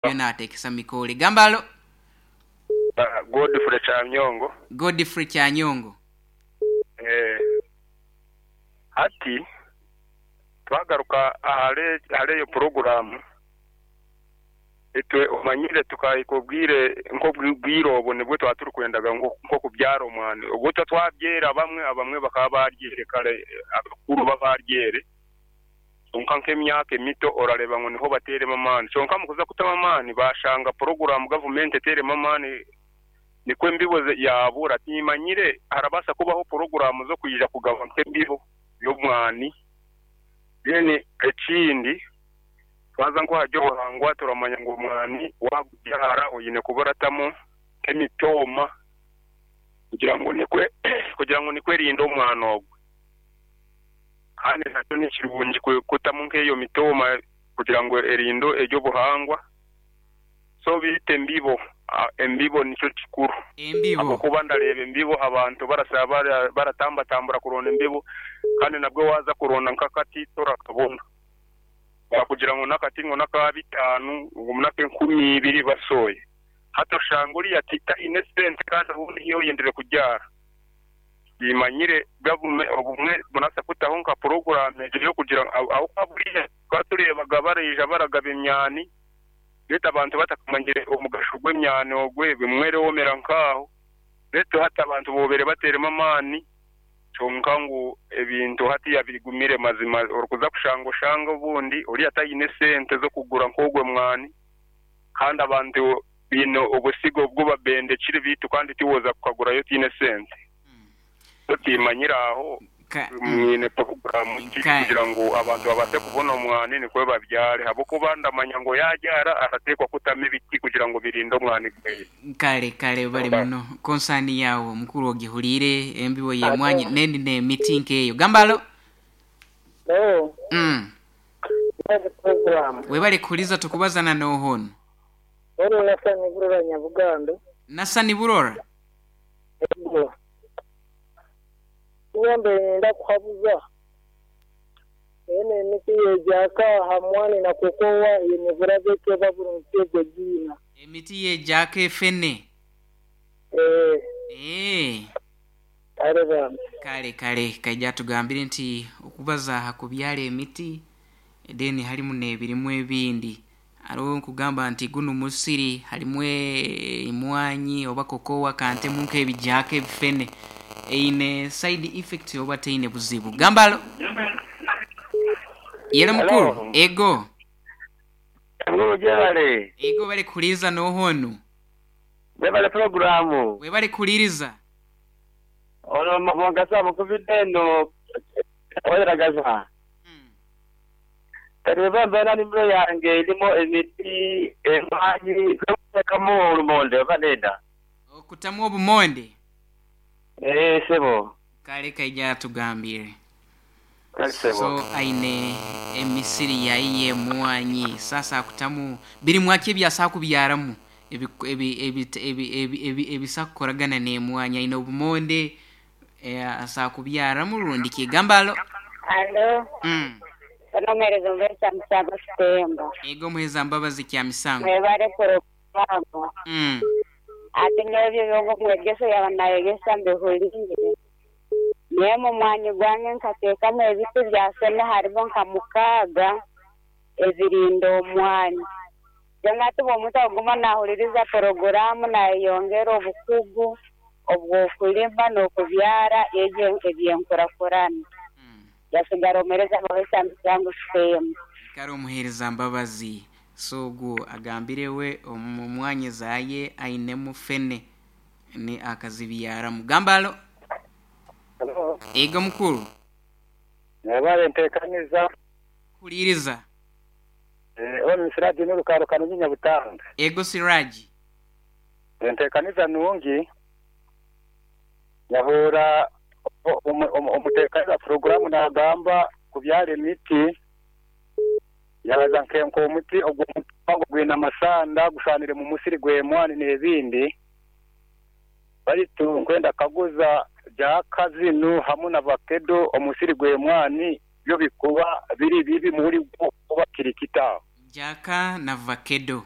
Byona atekesa mikole. Gamba alo. Godfrey Kyanyongo. Godfrey Kyanyongo. Hati twagaruka ahari eyo puroguraamu, itwe omanyire tukahika obwire nk'obwire obwo nibwo twaba turikwendaga nk'okubyara omwani. Obwo itwe twabyere abamwe, abamwe bakaba baaryere kare, abakuru bo baaryere. Kwonka nk'emyaka emito orareeba ngu niho bateiremu amaani. Kyonka omu kuza kutamu amaani baashanga puroguraamu gavumenti eteiremu amaani nikwo embibo yaabura. Tiimanyire harabaasa kubaho puroguraamu z'okwija kugaba nk'embibo y'omwani. Then ekindi twaza nk'ahari obuhangwa turamanya ngu omwani waagubyara oine kuba oratamu nk'emitooma kugira ngu nikwo kugira ngu nikwo erinde omwani ogwo. Kandi nakyo ni kirungi kutamu nk'eyo mitooma kugira ngu erinde eby'obuhangwa. So beitu embibo, embibo nikyo kikuru. Embibo. Ahabw'okuba ndareeba embibo abantu baratambatambura kuronda embibo kandi nabwo waaza kuronda nk'akati torakabona. Baakugira ngu n'akati ngu n'aka bitaano ngu n'ak'enkumi ibiri basoye. Hati oshanga oriya taine sente kandi obundi niiwe oyendire kubyara. Timanyire gavume obumwe murasa kutaho nka puroguramu egyo yokugira ngu ahabwokuba buriya tukaba tureebaga baraija baragaba emyani beitu abantu batakamanyire omugasho gw'emyani ogwe bimwe erewomera nkaaho beitu hati abantu bobaire bateiremu amaani kyonka ngu ebintu hatiya bigumire mazima orikuza kushanga oshange obundi oriya taine sente zokugura nkogwo mwani kandi abantu Baine obusigo obu babendekire beitu kandi tiwoza kukagurayo otaine sente. So timanyire aho mwine puroguramu ki kugira ngu abantu babaase kubona omwani nikwo babyare ahabw'okuba ndamanya ngu yaabyara arateekwa kutamu ebiti kugira ngu birinde omwani gweye. Kale kale webale muno konsani yaawe mukuru ogihuriire embibo y'emwanyi n'endi n'emiti nk'eyo. Gamba alo. Webale kuhuriza tukubaza na nooha onu? Onu Nasani Burora Nyabugando. Nasani Burora? Ego. Nyowe mbaire niinyenda kuhabuza enu emiti yegyaka aha mwani na kokowa eine burabe ki oba burungi ki egwo egiina? Emiti yegyaka efene? Eeh. Eeh. Kale bambi. Kale kale kaija atugambire nti okubaza aha kubyara emiti then harimu n'ebirimu ebindi. Haroho nkugamba nti gunu musiri harimu emwanyi oba kokowa kantemu nk'ebijaaka ebifene eine side effects oba teine buzibu. Gamba alo. Yelo mukuru. Halo. Ego. Mukuru gyebale. Ego webale kuhuliriza noha onu? Webale pulogulaamu. Webale kuhuliriza. Ono Mugasa mukubidde eno Oiragaza. Kati bwemba mbaire na nimiro yange erimu emiti, emwanyi, nsobola okutekamu olumonde oba nedha? Okutamu obumonde? Eeh sebo. Kale kaija atugambire. Kale sebo. So aine emisiri yaye y'emwanyi sasa akutamu birimwa ki ebyasa kubyaramu ebisa kukoragana n'emwanyi aine obumonde asa kubyaramu rundi ki gamba alo. Alo. Ono omuhereza omubeezi Kyamisango Kitemba. Ego omuhereza Mbabazi Kyamisango. Mwebale puroguramu. Ati nyowe ebyo byonka omwegesa yaba nayegesa mbihuriire. Nyowe omu mwanya gwange nkateekamu ebiti bya sene harimu nka mukaaga ebirinda omwanya. Kyonka hati omuntu akuguma nahuririza puroguramu nayeyongera obukugu obw'okulima n'okubyara ebyo eby'enkurakurana. Yasigara omuhereza Mbabazi Kyamisango Kitemba. Kare omuhereza Mbabazi. So ogwo agambire we omu mwanya zaye ainemu fene ni akazibyaramu. Gamba alo. Halo. Ego mukuru. Mwebale ntekaniza. Kuhuliriza. Onu ni Siraji Nurukaro Kanonyi Nyabutanga. Ego Siraji. Entekaniza nungi. Nyahuura omutekaniza puroguramu nagamba kubyara emiti, yabaza nk'omuti ogw'omupango gwine amasanda gushwanire mu musiri gw'emwani n'ebindi. Baitu nkwenda kukaguza jaaka zinu hamu na vakedo omusiri gw'emwani byo bikuba biri bibi muri gwo oba kiri kita? Jaaka na vakedo.